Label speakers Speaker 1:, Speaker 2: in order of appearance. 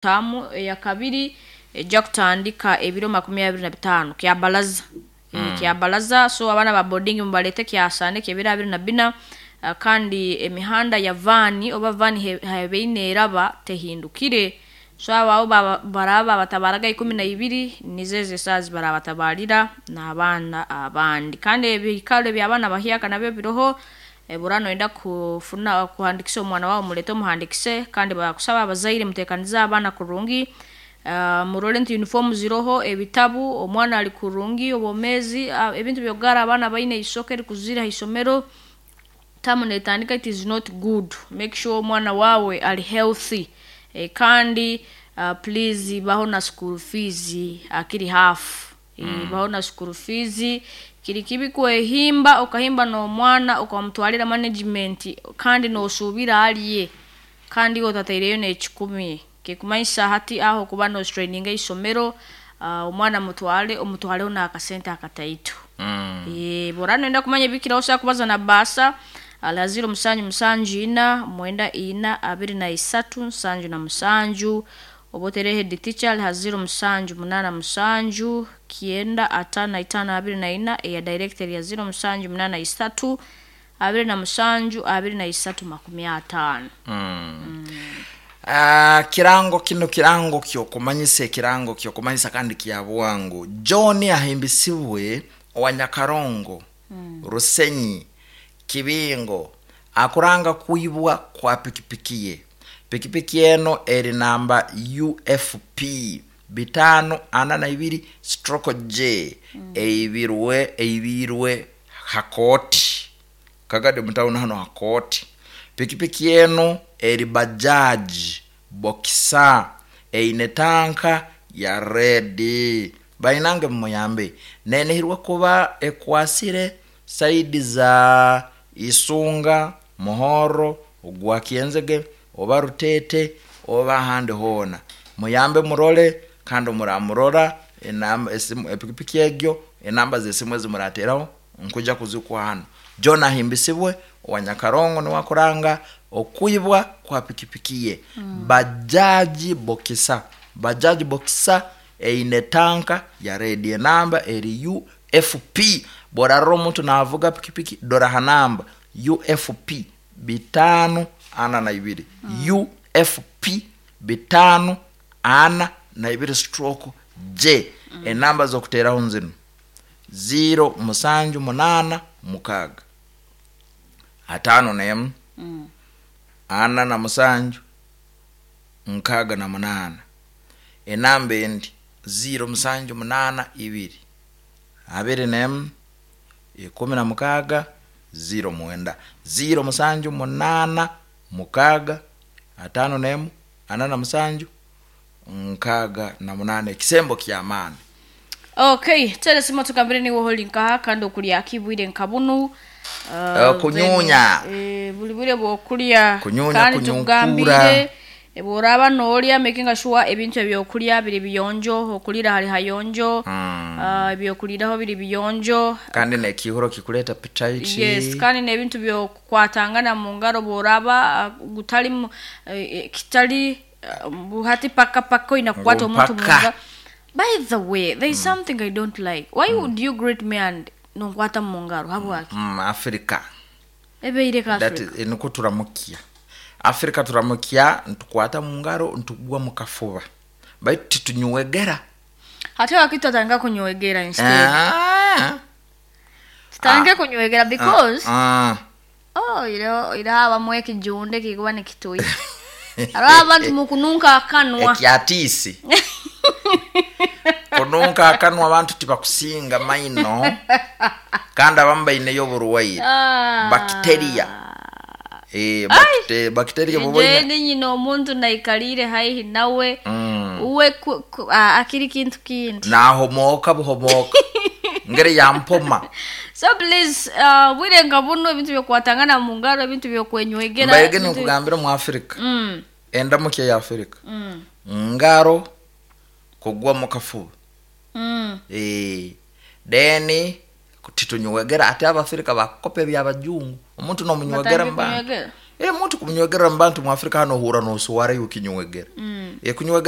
Speaker 1: Taamu eyakabiri ejja kutandika ebiro 25 kyabalaza. Kyabalaza, so abaana ba boarding mubalete kyasande kyebiro 24. Kandi emihanda ya vaani oba vaani hebeine eraba tehindukire, so abo baraba batabaraga 12 nizo ezo esaaha zibarabatabarira n'abaana abandi. Kandi ebikaro eby'abaana bahyaka nabyo biroho. Bura noyenda kufuna kuhandikisa omwana wawe, mulete omuhandikise. Kandi bakusaba abazaire mutekanize abaana kurungi, murole nti uniform ziroho, ebitabu, omwana ali kurungi obwomezi, ebintu byokugara abaana baine isoke erikuzira haisomero. Tamu netandika, it is not good. Make sure omwana wawe ali healthy. Kandi please baho na school fees akiri half. Baho na school fees. Kiri kibi kwehimba okahimba n'omwana okamutwalira management kandi nosuubira alye kandi iwe otataireyo n'ekikumi. Kikumanyisa hati aho okuba nostraininga eisomero. Omwana mutwale, omutwaleho n'akasente akataito. Bwora noyenda kumanya ebikiraho, osobola kubaza na baasa ala 0774 94 23 77, oba otere head teacher ali ha 0787 9 55 24, eya director ya 0783 27 23 50.
Speaker 2: Kirango kino kirango kyokumanyisa, ekirango kyokumanyisa kandi kya bwangu. John ahimbisibwe owa Nyakarongo, Rusenyi, Kibingo, akuranga kwibwa kwa pikipiki ye. Pikipiki eno eri namba UFP 542/J, eibirwe hakoti kagadi mutawuni hano hakoti. Pikipiki eno eri Bajaj Boxer, eine tanka ya red. Bainange mumuyambe, nenihirwe kuba ekwasire saidi za Isunga, Muhoro, ogwa Kyenzege oba Rutete oba ahandi hoona. Muyambe murole, kandi muramurora enamba esimu epikipiki egyo, enamba z'esimu ezimurateraho nkuja kuzikuha hanu. John ahimbisibwe owa Nyakarongo niwe akuranga okwibwa kwa pikipiki ye, Bajaji Boxer. Bajaji Boxer eine tanka ya red, enamba eri UFP. Bworarora omuntu navuga pikipiki, dora ha namba UFP 542, UFP 542/J. Enamba z'okuteraho nzinu: 0786 51 47 68. Enamba endi 0782 21 16 09, 0786 51 47 68. Ekisembo ky'amaani.
Speaker 1: Okay, tere simu tugambire niwe holi nkaha kandi okulya kibwire nka bunu.
Speaker 2: Kunyunya.
Speaker 1: Buli bwire bwokulya
Speaker 2: Kunyunya,
Speaker 1: kandi
Speaker 2: kunyunkura.
Speaker 1: Tugambire bworaba nolya, making sure ebintu ebyokulya biri biyonjo, okulira hali hayonjo, ebyokuliraho biri biyonjo.
Speaker 2: Kandi nekihuro kikuleta appetite.
Speaker 1: Yes, kandi n'ebintu byokukwatangana mu ngaro, bworaba gutali kitali hati paka paka oyina kukwata omuntu mu
Speaker 2: Mpaka.
Speaker 1: ngaro. By the way, there is something I don't like. Why would you greet me and nonkwata mu ngaro? Habwaki?
Speaker 2: Africa.
Speaker 1: Ebeire ka
Speaker 2: That
Speaker 1: Africa.
Speaker 2: Niko turamukia Afrika, turamukia ntukwata mungaro, ntugwa mukafuba, baitu titunywegera.
Speaker 1: Hati wakati tutandika kunywegera instead. Tutandike kunywegera because oh, iro habamu ekijunde kikuba nikituya. Hariho abantu mukununka akanwa.
Speaker 2: Ekyatiisi kununka akanwa, abantu tibakusinga maino kandi abamu baineyo oburwaire, bacteria. Bacteria buboine.
Speaker 1: Nje nyina omuntu naikalire haihi nawe, uwe akiri kintu kindi.
Speaker 2: Nahomoka buhomoka ngeri yampoma.
Speaker 1: So please, bwire nga buno, ebintu byokukwatangana mu ngaro, ebintu byokwenywegera,
Speaker 2: Mbairege ninkugambira mu Afrika, endamukya ya Afrika, ngaro, kugwa mukafuba. Then titunywegera. Ate Abafrika bakukopa ebyabajungu, omuntu nomunywegera
Speaker 1: Batandike
Speaker 2: mubanga.
Speaker 1: Kunywegera.
Speaker 2: Muntu kumunywegera mu bantu mu Afrika hano ohura noswara iwe kinywegera. Kunywegera.